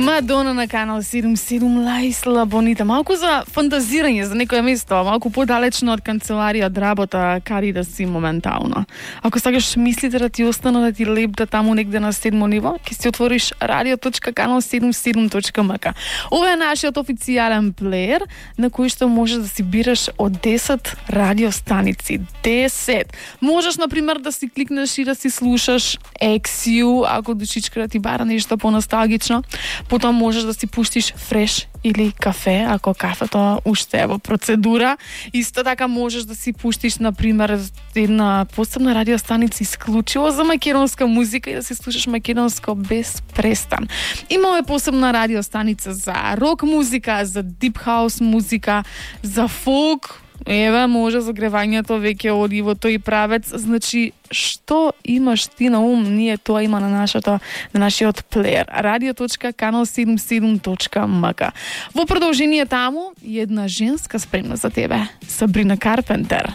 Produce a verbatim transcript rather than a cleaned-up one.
Мадона на канал седум седум, Лајсла Бонита. Малку за фантазирање за некое место, малку подалечно од канцеларија, од работа, кари да си моментално. Ако сакаш мислите да ти остана, да ти лепта таму негде на седмо ниво, ќе си отвориш радио точка канал седум седум точка ем ка. Ова е нашиот официјален плеер, на кој што можеш да си бираш од десет радиостаници. десет. Можеш, например, да си кликнеш и да си слушаш Екс Ю, ако душичка да ти бара нешто по-носталгично. Потом можеш да си пуштиш фреш или кафе, ако кафето уште е во процедура. Исто така можеш да си пуштиш, например, една посебна радиостаница исклучиво за македонска музика и да си слушаш македонско без престан. Имаме посебна радиостаница за рок музика, за дип хаус музика, за фолк. Еве, може загревањето веќе оди во тој правец. Значи, што имаш ти на ум, ние тоа има на нашото, на нашиот плеер. радио точка канал седум седум точка ем ка. Во продолжение таму, една женска спремна за тебе. Сабрина Карпентер.